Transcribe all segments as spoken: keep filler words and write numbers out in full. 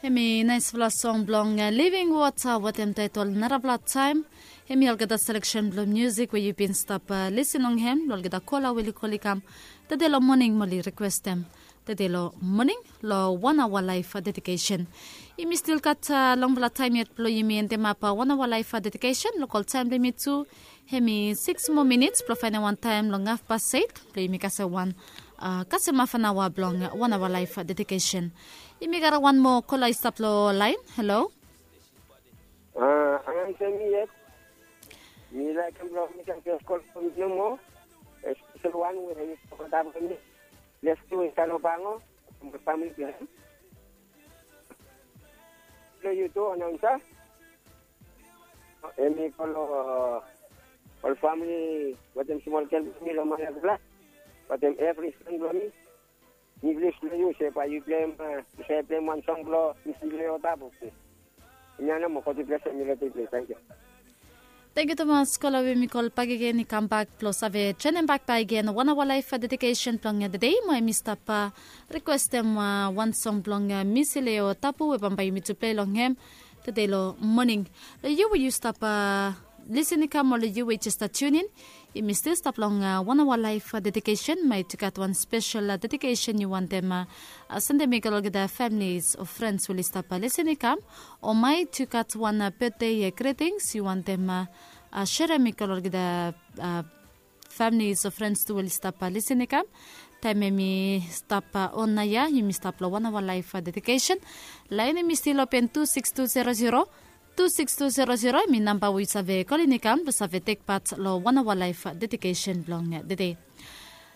Hemi naisfala song blong Living Water wetem taetol Narafala Taem. Hemi olgeta seleksen blong musik we yu bin stap lisin long hem long olgeta kola we oli kol i kam tede long moning mo oli rikwestem tede long moning long wan aoa laef dedikesen. Yumi stil gat longfala taem yet blong yumi endemap wan aoa laef dedikesen. Lokol taem blong yumi tu hemi sikis moa minits blong faenem wan taem long hafpas eit blong yumi kasem wan kasem hafanaoa blong wan aoa laef dedikesen. Yumi gat wan moa kola i stap long laen. Halo. A, a, ansem mi yet. Mi laekem blong mi kam jes kol blong mi nomo. Espesel wan we hemi stap antap long mi. Leftu i stap long Pango. Famili blong hem. Blong yu tu, anaonsa. Hemi kol ol famili wetem smol gel blong mi long Malakula wetem evri fren blong mi. Mi bilif long yu se bae yu pleim, yu save pleim wan song blong Misileo Tabu. Hemia nao mo God i blesem mi long tede. Tangkiu. Tangkiu tumas kola we mi kol bakegen i kambak blong save joenem bak bakegen wan aoa laef dedikesen blong tede mo hemi stap rikwestem wan song blong Misileo Tabu we bambae yumi tu plei long hem tede long moning. Long yu we yu stap lisin i kam o long yu we jes stap tiunin, yumi stil stap long wan aoa laef dedikesen. Maet yu gat wan spesel dedikesen yu wantem sendem i go long olgeta familis o frens we oli stap lisin i kam, o maet yu gat wan betde gritings yu wantem serem i go long olgeta familis o frens tu we oli stap lisin i kam. Taem hemi stap on naoia, yumi stap long wan aoa laef dedikesen. Laen hemi stil open tu sikis tu zero zero, tu sikis tu zero zero hemi namba we yu save kolin i kam blong save tekpat long wan aoa laef dedikesen blong tede.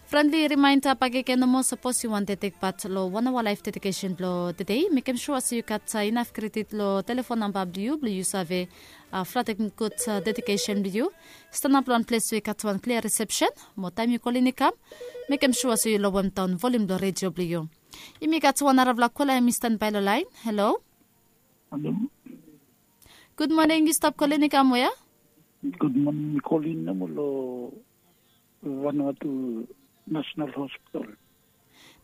Frendli rimaenda bakegen nomo, sapos yu wantem tekpat long wan aoa laef dedikesen blong tede, mekem sua se yu gat inaf kredit long telefon namba blong yu blong yu save flatem gud dedikesen blong yu. Stanap long wan ples we i gat wan klia risepsen mo taem yu kolin i kam, mekem sua se yu lowemdaon volium blong redio blong yu. Yumi gat wan narafala kola hemi stanbae long laen. Halo. Halo. Gud moning, yu stap kolin i kam wea? Gud moning, mi kolin nomo long Vanuatu National Hospital.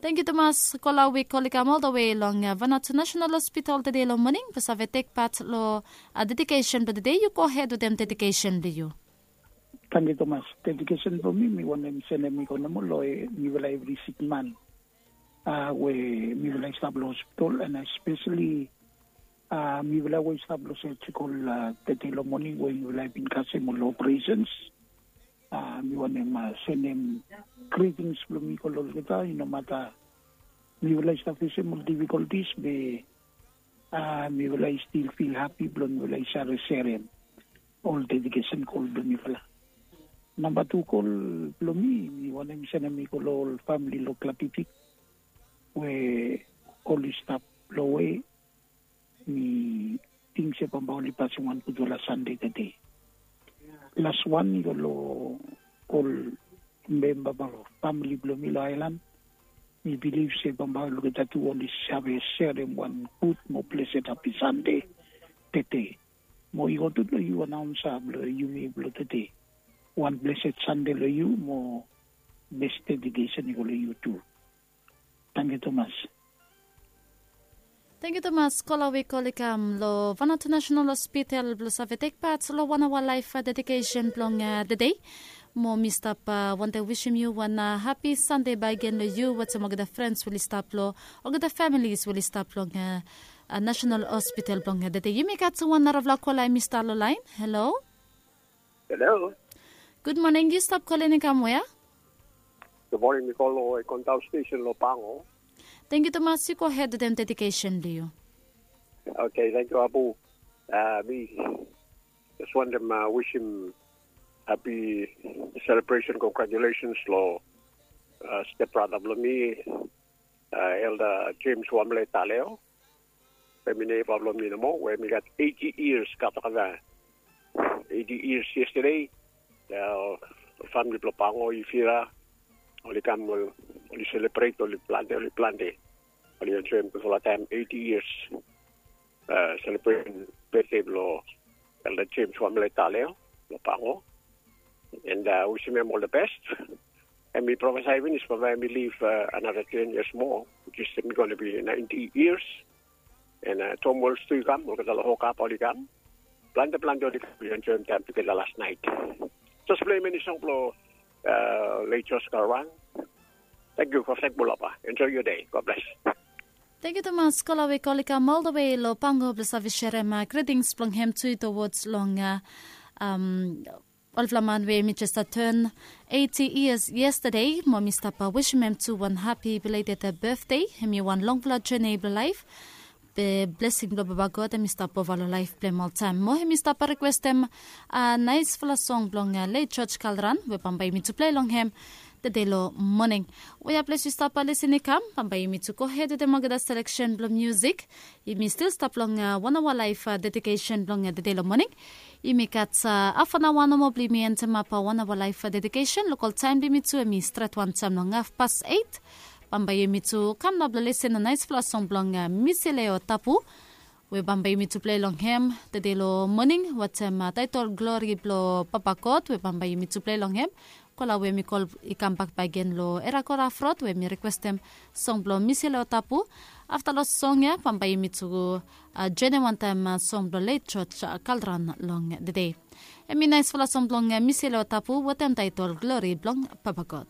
Tangkiu tumas kola we i kol i kam oldawe long Vanuatu National Hospital tede long moning blong save tekpat long dedikesen blong tede. Yu gohed wetem dedikesen blong yu. Tangkiu tumas. Dedikesen blong mi mi wantem sendem i go nomo long mifala evri sikman we mifala i stap long hospital, and espeseli mifala we i stap long surgical tede long moning we mifala i bin kasem ol operations. Mi wantem sendem gritings blong mi go long olgeta, i no mata mifala i stap fesem ol difikoltis be mifala i stil fil hapi blong mifala i save serem ol dedikesen kol blong mifala. Namba tu kol blong mi, mi wantem sendem i go long ol famili long Klapipik we oli stap lowe. Mi ting se bambae oli pasem wan gudfala Sande tede. Las wan i go long ol memba blong famili blong mi long aelan. Mi bilif se bambae olgeta tu oli save serem wan gud mo blesed hapi Sande tede. Mo i go tu long yu anaonsa blong yumi blong tede. Wan blesed Sande long yu mo bes dedikesen i go long yu tu. Tangkiu tumas. Tangkiu tumas kola we i kol i kam long Vanuatu National Hospital blong save tekpat long wan aoa laef dedikesen blong tede. Mo mi stap wantem wisim yu wan hapi Sande bakegen long yu wetem olgeta frens we oli stap long olgeta familis we oli stap long National Hospital blong tede. Yumi gat wan narafala kola hemi stap long laen. Halo. Halo. Gud moning, yu stap kolin i kam wea? Gud moning, mi kol long Ekondao stesen long Pango. Tangkiu tumas, yu gohed wetem dedikesen blong yu. Oke, tangkiu Abu. Mi jes wantem wisim hapi selebresen, kongratulasens long step brata blong mi, Elda Jems Wamle Taleo. Hemi neiba blong mi nomo we mi gat eiti yias, gat olgeta eiti yias yestede. Famili blong Pango, Ivira, oli kam, oli selebret, oli plante, oli plante. Oli enjoem gudfala taem, eiti yias selebresen betde blong Elda Jems Wamle Taleo long Pango. And wisim hem ol the best. Hemi profesae finis bambae hemi liv another ten years more, which is hemi gonna be ninety years. And Tom Wells tu i kam, olgeta long Hokap oli kam. Plante plante oli kam, wi enjoim taim tugeta las nait. Jes plei meni song blong leit Jos Kalran. Thank you for sek Bulapa. Enjoy your day. God bless. Thank you tumas kola we kolika all the way lo Pango blong save sherem greetings blong hem tu towards long um, olfla man we mi just turn eighty years yesterday. Mo mi stap wishim hem tu wan happy belated birthday. Hem i wan longfala journey blong life. Be blessing blong Baba God hem i stap ova long laif blong hem oltaem. Mo hem i stap requestem a naisfala song blong leit George Kalran we bambae yumi tu plei long hem tede long moning. Wea ples yu stap lisin i kam, bambae yumi tu gohed wetem olgeta seleksen blong musik. Yumi stil stap long wan aoa laif dedikesen blong tede long moning. Yumi gat afanaoa nomo blong yumi entemap wan aoa laif dedikesen. Lokol taem blong yumi tu hem i stret wantaem long hafpas eit. Bambae yumi tu kam nao blong lisin long naisfala song blong Misileo Tapu we bambae yumi tu plei long hem tede long moning, wetem taetol Glori blong Papa God we bambae yumi tu plei long hem. Kola we mi kol i kambak bakegen long Era Kora Frot we mi rekwestem song blong Misileo Tapu. Afta long song ya bambae yumi tu joenem wantaem song blong leit George Kalran long tede. Hem i naisfala song blong Misileo Tapu wetem taetol Glori blong Papa God.